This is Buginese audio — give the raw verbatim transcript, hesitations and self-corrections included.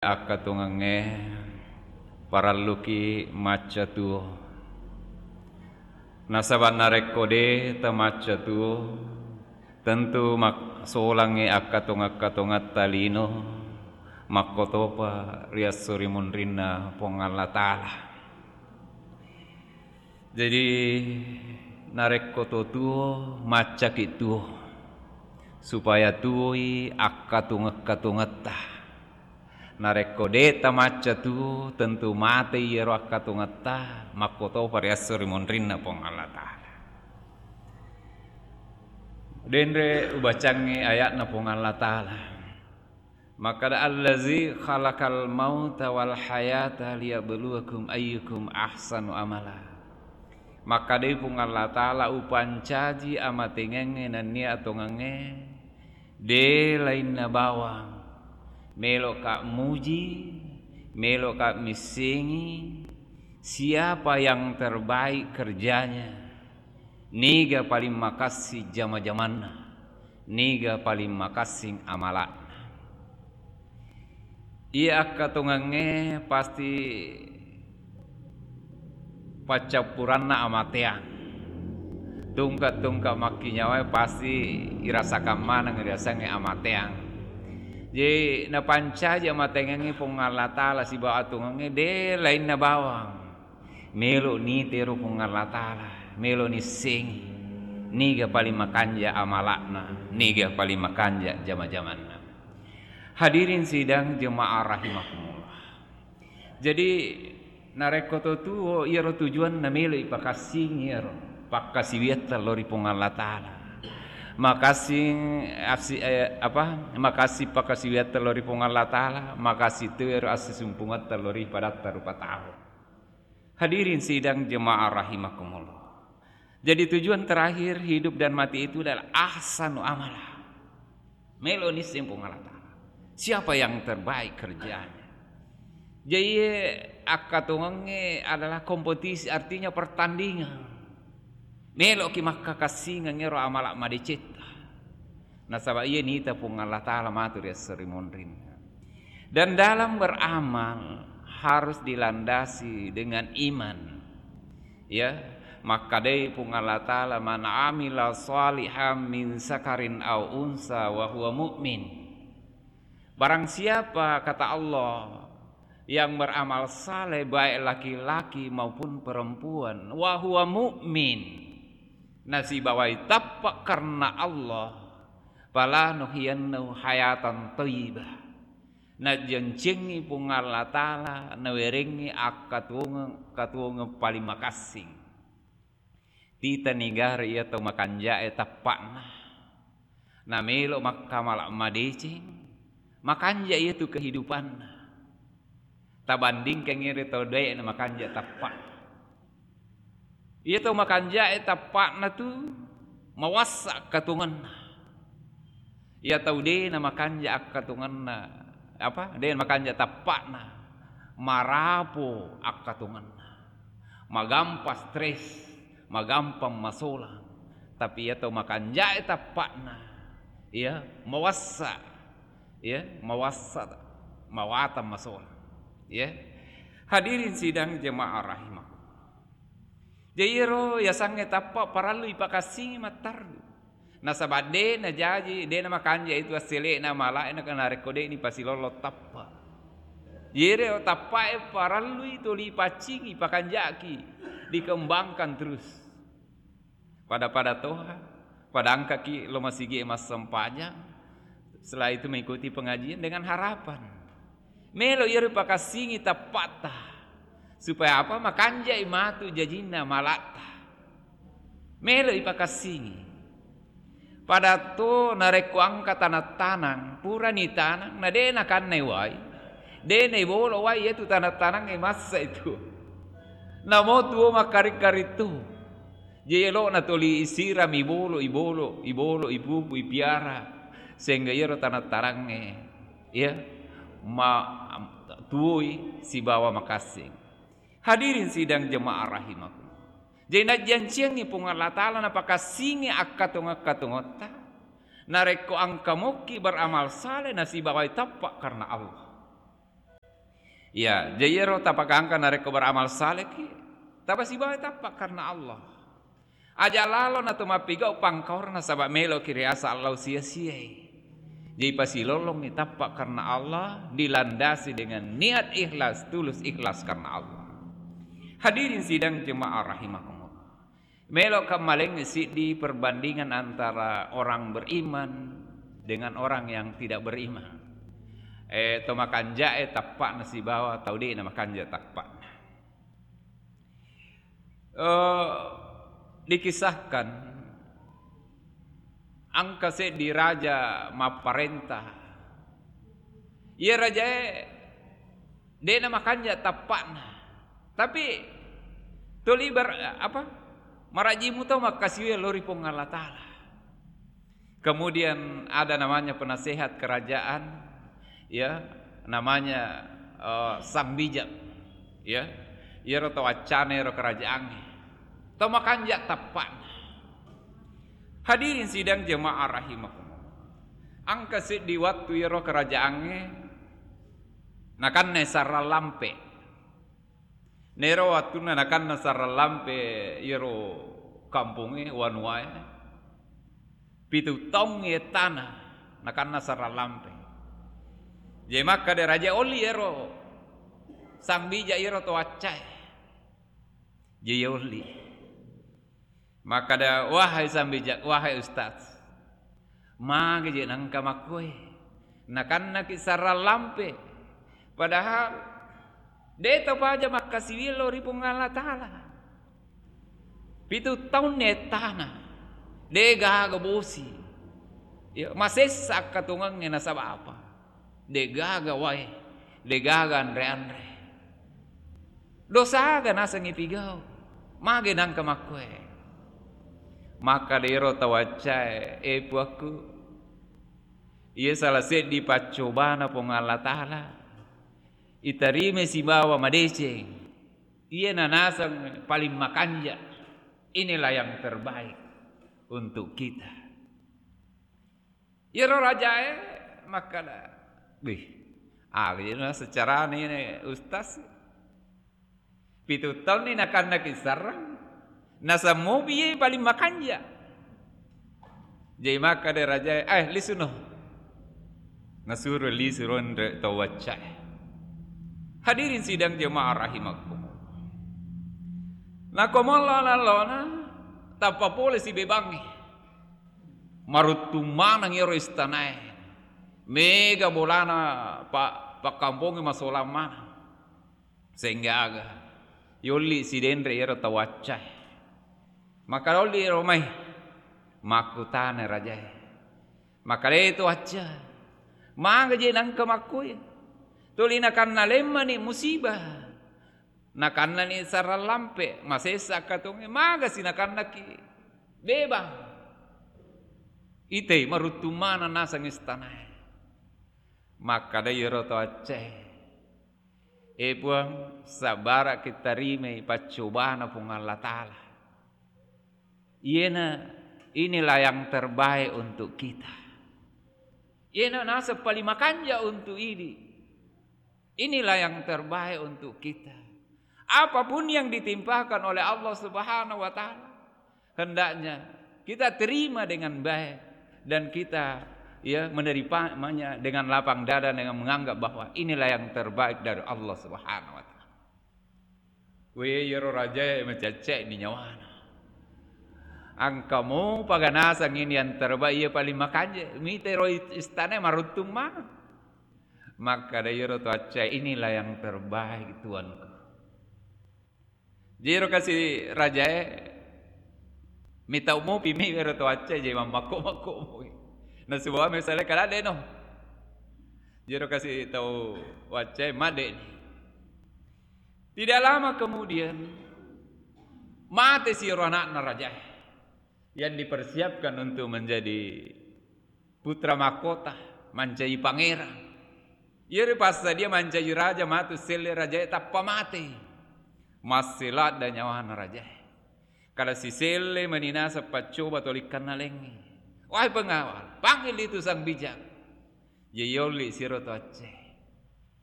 Akkatongengngé parelluki macca tuo. Nasaba narékko dé tamacca tuo, tentu mak-, solangngé akkatongeng-katongetta lino, makkotopa ri esso ri munrinna Puang Allah Taala. Jadi, narékko to tuo, maccaki tuo, supaya tuoi akkatongeng-katongetta. Narékko dé tamacca tuo, tentu matéi iyaro akkatongetta, makkotopa ri esso ri munrinna Puang Allah Taala. Dénré ubacangngé aya'na Puang Allah Taala. Makkeda, "Allazi khalaqal mauta wal hayata liyabluwakum ayyukum ahsanu amala." Makkedai Puang Allah Taala, "Upancaji amaténgengngé nennia atongengngé, dé lainna bawang. Mélo'ka muji, mélo'ka missengi, siapa yang terbaik kerjanya?" Niga paling makassi jama-jamanna, niga paling makassing amala'na. Iya akkatongengngé pasti paccappuranna amatéang. Tungke-tungke makkinyawaé pasti irasakang maneng riasengngé amatéang. Jadi napancaji amaténgengngé Puang Allah Taala sibawa atongengngé dé lainna bawang. Mélo nitero Puang Allah Taala, mélo nissengi niga paling makanja amala'na, niga paling makanja jama-jamanna. Hadirin sidang jemaah rahimakumullah. Jadi, narékko to tuo, iyaro tujuanna mélo ipakassingi iyaro pakkasiwiatta lao ri Puang Allah Taala. Makassing assi-, eh, apa? Makassing pakkasiwiatta lao ri Puang Allah Taala, makassing tu iyaro assisumpungetta lao ri padatta rupa tau. Hadirin sidang jemaah rahimakumullah. Jadi tujuan terakhir hidup dan mati itu adalah ahsanu amala. Mélo nisseng Puang Allah Taala. Siapa yang terbaik kerjanya? Jadi akkatongengngé adalah kompetisi, artinya pertandingan. Méloki makkakassingeng éro amala madécétta. Nasaba iya nita Puang Allah Taala matu ri esso ri munrinna. Dan dalam beramal harus dilandasi dengan iman. Ya, makkedai Puang Allah Taala, "Man amila shalihan min zakarin aw unsa wa huwa mu'min." Barang siapa, kata Allah, yang beramal saleh, baik laki-laki maupun perempuan, wa huwa mu'min, nasibawai tappa karena Allah, falanuhyiyannahu hayatan thayyibah, najancingi Puang Allah Taala, nawéréngngi akkatuwongeng, katuwongeng paling makassing. Tita nigara iya tau makanjaé tappa'na. Namélo makkamala madécéng, makanja iyatu kehidupanna. Tabandingkangngi ri tau dé'na makanja tappa'na. Iya tau makanjaé tappa'na tu mawassa akkatongenna. Iya tau dé namakanja akkatongenna, apa? Dé namakanja tappa'na, marapo akkatongenna. Magampang stres, magampang masolang. Tapi iya tau makanjaé tappa'na, iya, mawassa, iya, mawassa, mawatang masolang. Iya. Hadirin sidang jemaah rahimakumullah. Jadi iyaro yasengngé tappa parellu ipakassingi matteru. Nasaba dé najaji, dé namakanja itu assélé'na malaé na, narékko dé nipasilollo tappa. Iyaro tappaé parellui toli ipaccingi, ipakanjaki, dikembangkan terus. Pada-pada toha, pada engkaki lo masigié massempajang, setelah itu mengikuti pengajian dengan harapan mélo iyaro ipakassingi tappa'ta. Supaya apa? Makanjai matu jajinna malatta. Mélo ipakassingi. Pada to narékko engka tanang-tanang, purani tanang, na dé nakannai wai, dé naibolo wai, iyatu tanang-tanangngé massa itu. Namo tuo makkaring-karing tu. Jadi elo'na toli isirami ibolo, ibolo, ibolo, ipupu, ipiara. Sehingga iyaro tanang-tanangngé, iya, ma-, tuoi sibawa makassing. Hadirin sidang jemaah rahimakumullah. Jadi najjanciangngi Puang Allah Taala napakassingi akkatongeng-katongetta. Narékko engka mokki beramal saleh nasibawai tappa karena Allah. Ya, jadi iyaro tapakangka narekko beramal salehki, tapasibawa tappa karena Allah. Aja lalo na to mappigau pangkaurna, nasaba meloki riasa Allah sia-siai. Jadi pasilolongi tappa karena Allah, dilandasi dengan niat ikhlas, tulus ikhlas karena Allah. Hadirin sidang jemaah rahimakumullah. Meloka maleng siddi perbandingan antara orang beriman dengan orang yang tidak beriman. Eh, to makanjae tappa'na sibawa tau de'na makanja tappa'na. Eh, dikisahkan engka seddi raja mapparenta. Iya rajae de'na makanja tappa'na. Tapi tuli ber-, apa? Maraji muto makkasiwiang lao ri Puang Allah Taala. Kemudian ada namanya penasehat kerajaan, ya, namanya, eh, Sang Bijak, ya. Iyaro tau accana ero kerajaangnge. Tau makanja tappa'na. Hadirin sidang jemaah rahimakumullah. Engka seddi wattu iyaro kerajaangnge nakanna sarang lampe. Nero wattunna nakanna sarang lampe iyaro kampongnge, wanuwae, pitu taung ettana nakanna sarang lampe. Jadi makkeda raja, olli ero Sang Bijak iyaro to accae. Jadi olli. Makkeda, "Wahai Sang Bijak, wahai Ustaz, magi je nengka makkue? Nakannaki sarang lampe, padahal de to paja makkasiwiang lao ri Puang Allah Taala. Pitu taunni ettana, de gaga bosi. Ya, masessa akkatongengnge nasaba apa? De gaga wae, de gaga anre-anre. Dosaga naseng ipigau? Magi nengka makkue?" Makkeda ero tau accae, "E Puakku, iya salah seddi paccobana Puang Allah Taala, itarimai sibawa madeceng. Iyana naseng paling makanja. Inilah yang terbaik untuk kita." Iyaro rajae makkeda, "Wih, aga je naseng carana iyana, Ustaz? Pitu taunni nakannaki sarang, naseng mopi iye paling makanja." Jadi makkeda rajae, "Eh, lisuno." Nasuro lisu ronre tau waccae. Hadirin sidang jemaah rahimakumullah. Nako mallona-lona, tappa pole sibebangnge. Maruttung maneng iyaro istanae. Mega bolana pa-, pakkampongnge masolang maneng. Sehingga aga? Yolli sidenre iyaro tau waccae. Makkeda, "Olli ero mai?" Makkutana rajae. Makkeda to wacca, "Maga je nengka makkue? Tuli nakanna lemmani musibah. Nakannani sarang lampe, masessa akkatongnge, magasi nakannaki bebang?" Itei maruttung maneng naseng istanae. Makkeda iyaro to accae, "E Puang, sabbaraki tarimai paccobana Puang Allah Taala. Iyena, inilah yang terbaik untuk kita. Iyena naseng paling makanja untuk idi. Inilah yang terbaik untuk kita." Apapun yang ditimpakan oleh Allah Subhanahu wa Ta'ala, hendaknya kita terima dengan baik dan kita, ya, menerimanya dengan lapang dada, dengan menganggap bahwa inilah yang terbaik dari Allah Subhanahu wa Ta'ala. We, iyaro rajae macecce'ni nyawana. Engka mopa ga naseng ini yang terbaik, iya paling makanja, mitero istanae maruttung maneng. Makkeda iyaro to accae, "Inilah yang terbaik, Tuanku." Jero kasi rajae, mitau mopi mi ero to accae, je mammakko-makko mopi. Nasibawa misalnya kada deno. Jero kasi tau waccae, madde'ni. Tidak lama kemudian, mate si ero anakna rajae yang dipersiapkan untuk menjadi putra mahkota, mancaji pangeran. Iyaro passadia mancaji raja, matu selle rajae tappa mate. Masse ladda nyawana rajae. Kada siselle mani naseng paccoba tolikkanna lengnge. Wahai pengawal, panggil itu sang bijak. Ye yolli siro to acce.